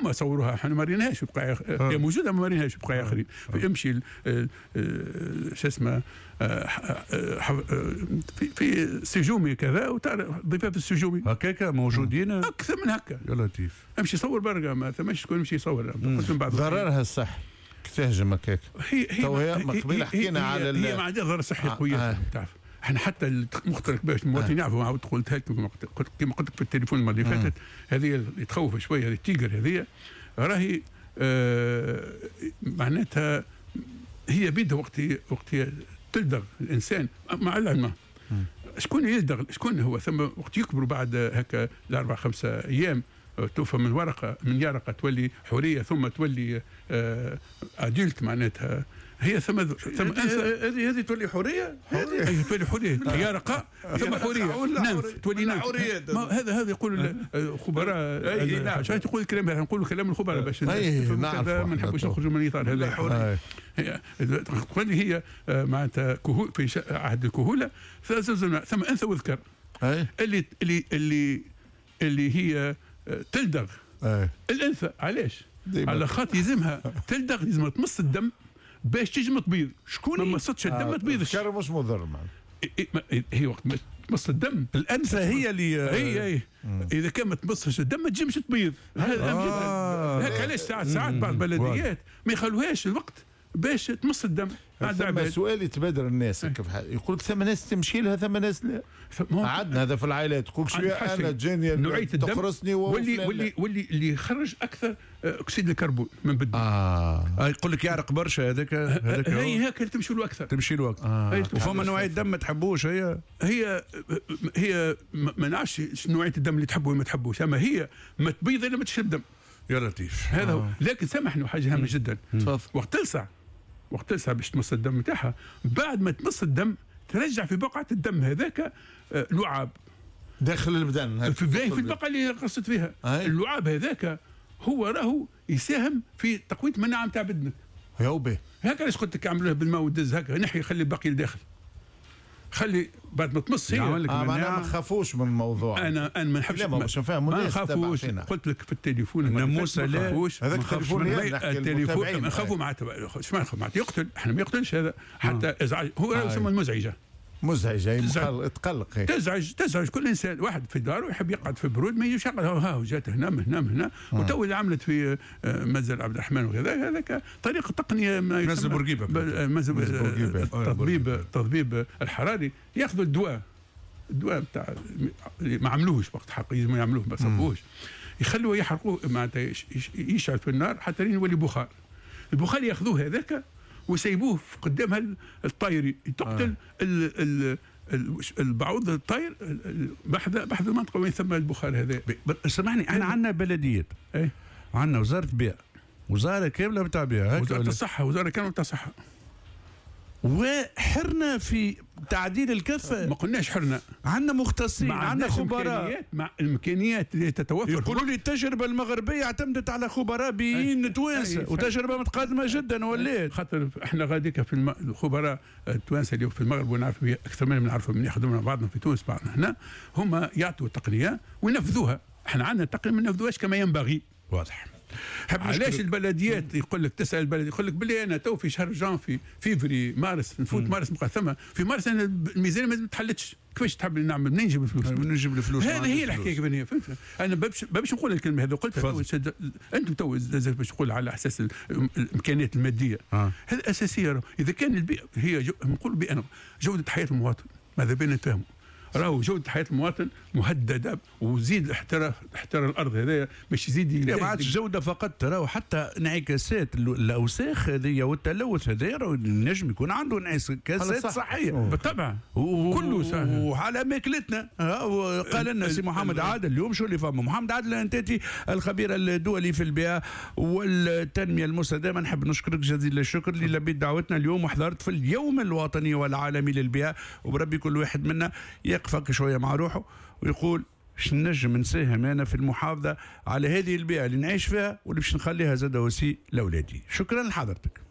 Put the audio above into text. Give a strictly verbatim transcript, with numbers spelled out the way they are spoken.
هما صوروها، احنا ما ريناهاش بقايا، هي موجودة ما ريناهاش بقايا اخرين. امشي شو اسمه في في سجومي كذا وتعرف ضفاف السجومي هكاك موجودين اكثر من هكا. يا لطيف. امشي صور برقه، ما ثماش شكون يمشي يصور. ضررها الصح تهجم هكاك. هي هي هي قبيلة حكينا على هي ما عندها ضرر صحي قوي. آه. تعرف احنا حتى المختلف باش المواطنين آه. يعرفوا، عاود قلتها لكم كما قلت لك في التليفون المرة اللي فاتت، هذه اللي تخوف شوية، هذه ال tigre هذه راهي آه معناتها هي بيدها وقت وقت تلدغ الانسان مع العلم. شكون يلدغ شكون هو؟ ثم وقت يكبروا بعد هكا الاربع خمسة ايام توفى من ورقة من يرقه تولي حورية ثم تولي آه adulte معناتها هي ثم ثم هذه هذه تولي حورية، هذه تولي حورية يرقه ثم حورية nymphe تولي nymphe. هذا هذا يقول الخبراء، عشان تقول الكلام هذا نقولوا كلام الخبراء باش ما نحبوش نخرجوا من الاطار هذا. تولي هي معناتها في عهد الكهوله ثم انثى وذكر اللي اللي اللي اللي هي تلدغ الانثى. علاش؟ على خاطر يلزمها تلدغ، يلزمها تمص الدم باش تجم تبيض. شكون ما مصتش الدم ما تبيضش. الذكر مش مضر معناها. هي وقت ما تمص الدم الانثى هي اللي هي هي اذا كان ما تمصش الدم ما تجمش تبيض. هذا آه. هكا علاش ساعات ساعات بعض البلديات ما يخلوهاش الوقت باش تمص الدم. ثم سؤال يتبادر الناس كيف يقول لك ثم ناس تمشي لها ثم ناس لا. عندنا هذا في العائلات تقول شوية انا تجيني نوعية الدم تقرصني واللي واللي واللي اللي يخرج اكثر اكسيد الكربون من بدنه. اه يقول لك يعرق برشا هذاك هذاك هي هكا تمشي له اكثر، تمشي له اكثر. آه. وفما نوعية دم ما تحبوش هي هي هي ما نعرفش نوعية الدم اللي تحبه وما تحبوش، اما هي ما تبيض الا ما تشرب دم. يا لطيف. هذا هو. لكن سامحني حاجة هامة جدا، وقت تلسع وقت تلسع باش تمص الدم نتاعها، بعد ما تمص الدم ترجع في بقعة الدم هذاك لعاب داخل البدن في في البقعة اللي قصت فيها. آه. اللعاب هذاك هو راهو يساهم في تقوية المناعة نتاع بدنك. يا وبي هكا علاش قلت لك عملوها بالماء والدز هكا، نحي خلي الباقي لداخل، خلي بعد ما تمص هي. آه معناها ما نخافوش من الموضوع. انا انا ما نحبش ما ما نخافوش. قلت لك في التليفون الناموسه لا، هذاك التليفون التليفون نخافوا معناتها شو ما نخاف معناتها يقتل، احنا ما يقتلش هذا حتى ازعاج، هو يسمى المزعجة. مزعجة تقلق، تزعج تزعج كل انسان. واحد في داره يحب يقعد في برود ما يجيش يقعد ها جات هنا من هنا من هنا. وتو اللي عملت في منزل عبد الرحمن وكذا هذاك طريقه تقنية ما منزل بورقيبة، منزل التطبيب التطبيب الحراري، ياخذوا الدواء الدواء بتاع ما عملوهش وقت حق يلزموا يعملوه ما صبوهش، يخلوه يحرقوه معناتها يشعل في النار حتى لين يولي بخار. البخار ياخذوه هذاك وسيبوه قدام الطاير تقتل آه. ال ال البعوض الطاير بحذ بحذ المنطقة وين ثم البخار هذا. سامحني احنا عندنا بلديات، ايه؟ عندنا وزارة بيئة، وزارة كاملة بتاع بيئة، وزارة الصحة، وزارة كاملة بتاع الصحة، وحرنا في تعديل الكفة. ما قلناش حرنا، عندنا مختصين، عندنا خبراء، مع الامكانيات اللي تتوفر. يقولوا لي التجربة المغربية اعتمدت على خبراء بيئيين توانسة وتجربه متقدمة جدا ولات. خاطر احنا غاديك في الم... الخبراء التوانسة اللي في المغرب ونعرف اكثر منهم، نعرفهم من يخدموا بعضنا في تونس بعضنا هنا، هما يعطوا التقنية وينفذوها. احنا عندنا التقنية ما ننفذوهاش كما ينبغي. واضح. علاش البلديات يقول لك تسال البلدية يقول لك باللي انا تو في شهر جانفي فيفري مارس نفوت مم. مارس نبقى ثم في مارس انا الميزانية ما تحلتش، كيفاش تحب نعمل منين نجيب الفلوس؟ منين نجيب الفلوس؟ هذه هي الحكاية كيفاش فهمت؟ انا باش باش نقول الكلمة هذه قلتها انتم تو باش نقول على اساس الامكانيات المادية. آه. هذا اساسية. اذا كان البيئة هي جو... نقول بان جوده حياة المواطن ماذا بينا نتفاهموا راهو جودة حياة المواطن مهددة، وزيد الاحتراف احترار الأرض هذايا باش يزيد. ما عادش جودة فقط، راهو حتى انعكاسات الأوساخ هذيا والتلوث هذايا راهو نجم يكون عنده انعكاسات صحية بالطبع كله صحيح وعلى ماكلتنا. قال لنا سي محمد عادل اليوم شو اللي فما محمد عادل الانتاتي الخبير الدولي في البيئة والتنمية المستدامة، نحب نشكرك جزيل الشكر اللي لبيت دعوتنا اليوم وحضرت في اليوم الوطني والعالمي للبيئة. وبربي كل واحد منا يقفك شوية مع روحه ويقول شنجم نساهم انا في المحافظة على هذه البيئة اللي نعيش فيها واللي باش نخليها زاد وسي لاولادي. شكرا لحضرتك.